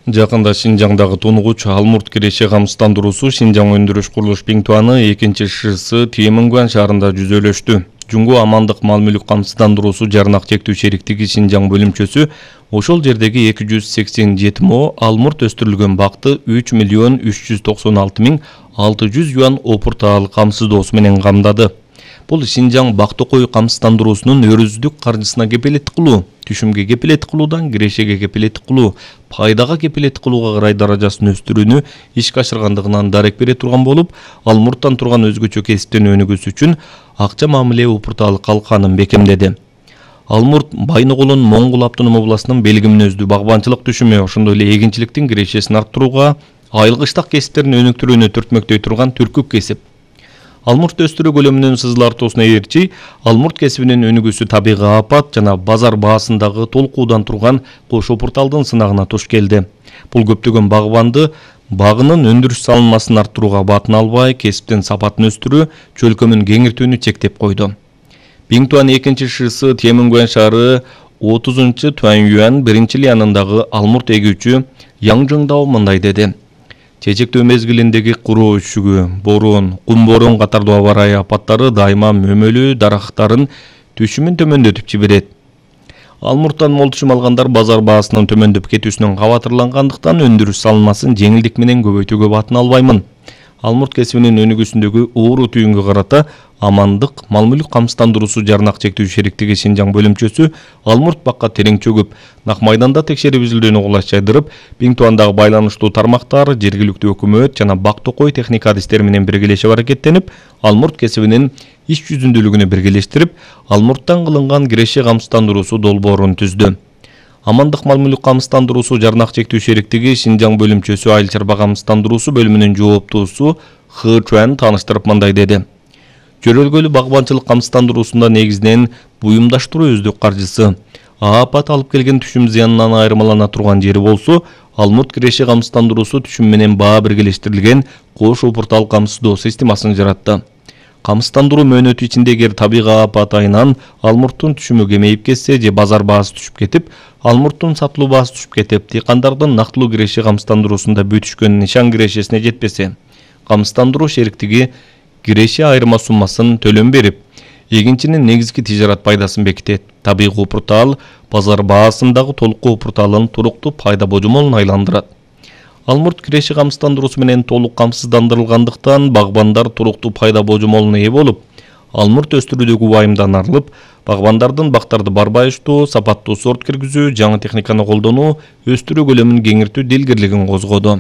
Жакында Шинжаңдагы тунугуч Алмурт киреше камсыздандыруусу Шинжаң өндүрүш курулуш Биңтуаны 2-шысы Тиемингуан шаарында жүзөлөштү. Жуңгу амандык мал-мүлк камсыздандыруусу жарнак чектүү шериктиги Шинжаң бөлүмчөсү ошол жердеги 287 мо Алмурт өстүрүлгөн бакты 3.396.600 юан опуртаал камсыздоосу менен камдады. Бул Шинжаң бактыкой камсыздандыруусунун өрүздүк каржысына кепилеттик кылуу, түшүмгө кепилеттик кылуудан кирешеге кепилеттик кылуу, пайдага кепилеттик кылууга карай даражасын өстүрүүнү ишке ашыргандыгынан дарек бере турган болуп, Алмурттан турган өзгөчө кесиптен өнүгүүсү үчүн акча мамиле опуртаалы калканын бекемдеди. Алмурт Байногулун Моңгул автоном областынын Белги мүнөздүү багбанчылык түшүмү, ошондой эле эгинчиликтин кирешесин арттырууга, айылгычтык кесиптерин өнүктүрүүнү түртмөктөй турган түркүк кесип. Алмурт өстүрүү көлөмүнүн сызылартуусуна ээрчи, Алмурт кесибинин өнүгүүсү табигый апат жана базар баасындагы толкуудан турган кош опурталдын сынагына туш келди. Бул көптөгөн багбанды багынын өндүрүш салынмасын арттырууга батын албай, кесиптин сапатын өстүрүү, чөлкөмүн кеңиртүүнү чектеп койду. Биңтуан 2-шысы Тиемингуан шаары 30-Туанюан 1-лиянындагы Алмурт эгүүчү Яңжыңдау мындай деди. Чечектөө мезгилиндеги куроо үшүгү, борон, кум борон катардуу аба ырайы апаттары дайыма мөмөлүү дарактардын түшүмүн төмөндөтүп жиберет. Алмурттан мол түшүм алгандар базар баасынын төмөндөп кетүүсүнөн кабатырлангандыктан өндүрүш салынмасын жеңилдик менен көбөйтүүгө батын албаймын. Алмурт кесибинин өнүгүүсүндөгү ууру түйүнгө карата амандык мал-мүлк камсыздандыруусу жарнак чектүү шериктиги Шинжаң бөлүмчөсү Алмурт бакка терең чөгүп, Нак майданда текшерип изилдөөнү кулаш жайдырып, Биңтуандагы байланыштуу тармактар, жергиликтүү өкмөт жана бактыкой техника адистери менен биргелешип аракеттенип, Алмурт кесибинин иш жүзүндүүлүгүнү биргелештирип, Алмурттан кылынган киреше камсыздандыруусу долбоорун түздү. Амандык мал-мүлк камсыздандыруусу жарнак чектүү шериктиги Шинжаң бөлүмчөсү айыл чарба камсыздандыруусу бөлүмүнүн жооптуусу Хы Чуан тааныштырып мындай деди. Жөрөлгөлүү багбанчылык камсыздандыруусунда негизинен буюмдаштыруу өздүк каржысы. Апат алып келген түшүм зыянынан айырмалана турган жери болсо, Алмурт киреше камсыздандыруусу түшүм менен баа биргелештирилген кош опуртаал камсыздоо системасын жаратты. Камсыздандыруу мөөнөтү ичинде эгер табигый апат айынан Алмурттун түшүмү кемейип кетсе же базар баасы түшүп кетип, Алмурттун сатылуу баасы түшүп кетип, дыйкандардын нактылуу киреше камсыздандыруусунда бүтүшкөн нишан кирешесине жетпесе, камсыздандыруу шериктиги киреше айырма суммасын төлөм берип, эгинчинин негизги тижарат пайдасын бекитет. Табигый опуртаал базар баасындагы толук опуртаалын туруктуу пайда божомолуна айландырат. Алмурт киреше камсыздандыруусу менен толук камсыздандырылгандыктан багбандар туруктуу пайда божомолуна ээ болуп, Алмурт өстүрүүдөгү убайымдан арылып, багбандардын бактарды барбайыштуу, сапаттуу сорт киргизүү, жаңы техниканы колдонуу, өстүрүү көлөмүн кеңиртүү дилгирлигин козгоду.